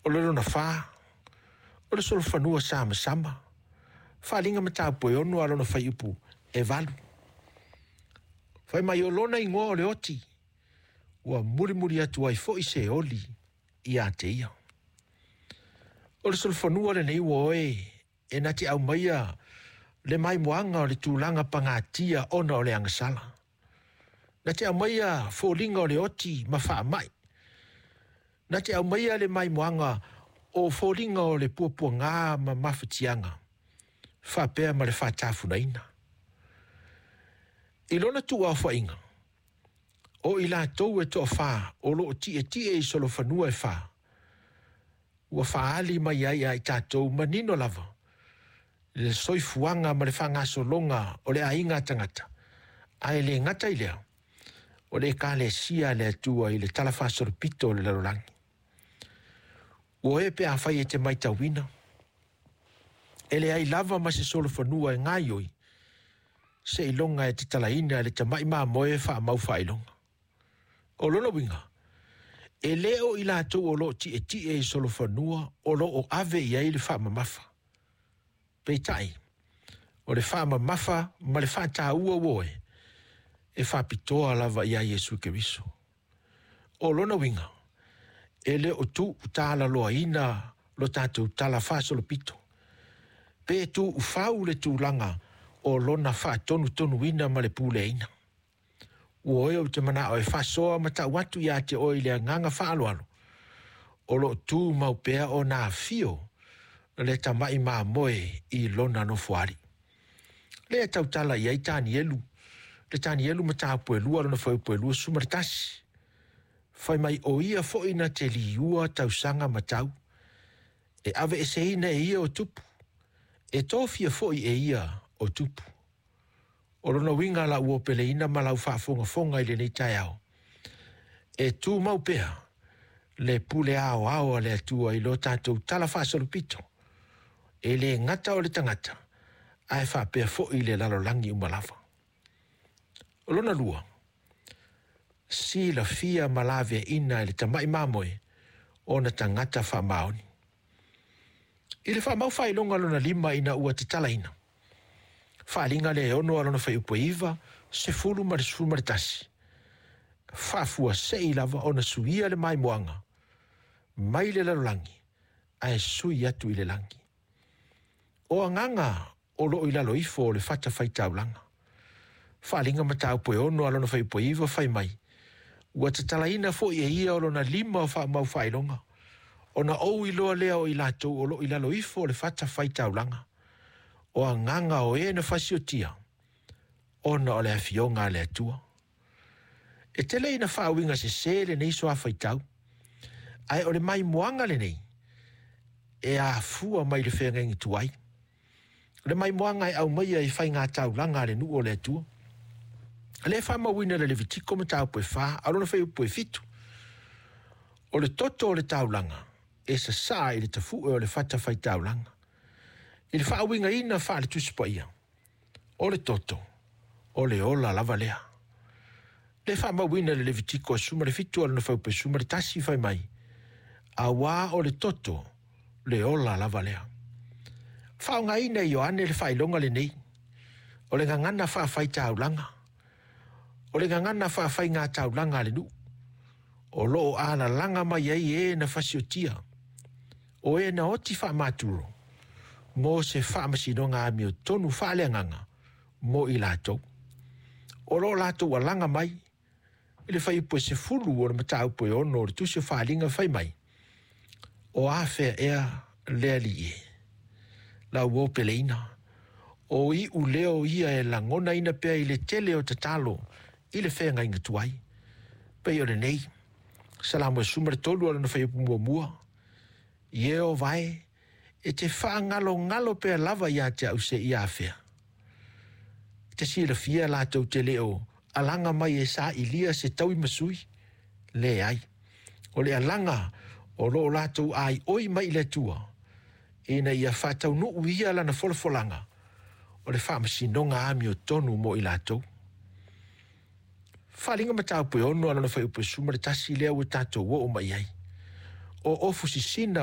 O le lona fa, o le solofanua samasama, Faaaliga mataupu e 6 a lona fuaiupu 8. Fai mai o lona igoa o le oti, ua mulimuli atu ai foi Seoli ia te ia. O le solofanua lenei ua oe e na te aumaia le maimoaga o le tulaga pagatia ona o le agasala. Na te aumaia foliga o le oti ma faamai. Na te aumaia le maimoaga o foliga o le puapuaga ma mafatiaga, faapea ma le faatafunaina. I lona tuuaofaiga, o i latou e toafa o lo o tietie i solofanua e fa, ua faaali mai ai ia i tatou manino lava le soifuaga ma le faagasologa o le aiga tagata, ae le gata i lea, o le Ekalesia a le Atua i le talafaasolopito o le lalolagi. Ua e pe afai e te matauina, e leai lava ma se solofanua e gaoioi, seiloga e tatalaina e le tamai mamoe faamau faailoga. O lona uiga, e le o i latou o lo o tietie i solofanua o lo o ave i ai le faamamafa. Peitai, o le faamamafa ma le faataua ua oe, e faapitoa lava ia Iesu Keriso. O lona uiga, e le o tuutalaloaina lo tatou talafaasolopito, pe tuufau le tulaga o lona faatonutonuina ma le puleaina. Ua oe ou te manao e faasoa ma tau atu ia te oe i le agaga faaaloalo, o lo o tumau pea ona afio le tamai mamoe i lona nofoalii. Lea e tautala i ai Tanielu, le Tanielu mataupu e 2 lona fuaiupu e 21. Fai mai o ia foi na te liua tausaga ma tau, e aveeseina e ia o tupu, e tofia foi e ia o tupu. O lona uiga lau opeleina ma lau faafogafoga i lenei taeao, e tumau pea le pule aoao a le Atua i lo tatou talafaasolopito, e le gata o le tagata, ae faapea foi le lalolagi uma lava. O lona lua, silafia ma laveaina e le tamai mamoe ona tagata faamaoni. I le faamau faailoga lona lima ina ua tatalaina, faaaliga lea e 6 a lona fuaiupu e 9, 10 ma le 11, faafuasei lava ona suia le maimoaga mai le lalolagi ae sui atu i le lagi. O agaga o lo o i lalo ifo o le fatafaitaulaga. Faaaliga mataupu e 6 a lona fuaiupu e 9 fai mai, ua tatalaina foi e ia o lona lima o faamau faailoga, ona ou iloa lea o i latou o lo o i lalo ifo o le fatafaitaulaga, o agaga o e na fasiotia, ona o le afioga a le Atua. E tele ina faauiga sese lenei soa faitau, ae o le maimoaga lenei e afua mai le feagaiga tuai. O le maimoaga e aumaia i faigataulaga a le nuu o le Atua. O lea e faamauina i le Levitiko mataupu e 4, a o lona fuaiupu e 7. O le toto o le taulaga e sasaa i le tafue o le fatafaitaulaga. I le faauigaina faale-Tusi Paia, o le toto, o le ola lava lea. Le faamauina i le Levitiko 17 a lona fuaiupu e 11 fai mai, auā o le toto le ola lava lea. Faaaogaina e Ioane le faailoga lenei, o le gagana faafaitaulaga, o le gagana faafaigataulaga a le nuu, o lo o alalaga mai ai e na fasiotia, o e na oti faamaturo, mo se faamasinoga amiotonu faaleagaga mo i latou. O lo o latou alaga mai i le fuaiupu e 10 o le mataupu e 6 o le Tusi o Faaaliga fai mai, o afea ea le alii e? Lau opeleina, o iu leo ia e lagonaina pea i le tele o tatalo i le feagaiga tuai. Pei o lenei, Salamo e 13 a lona fuaiupu muamua, Ieova e, e te faagalogalo pea lava ia te au seia afea. E te silafia latou te le o alaga mai e sailia se taui ma sui, leai. O le alaga o lo o latou aioi mai i le Atua, ina ia faataunuu ia lana folafolaga, o le faamasinoga amiotonu mo i latou. Faaaliga mataupu e 6 a lona fuaiupu e 11 lea ua tatou oo mai ai. O ofu sisina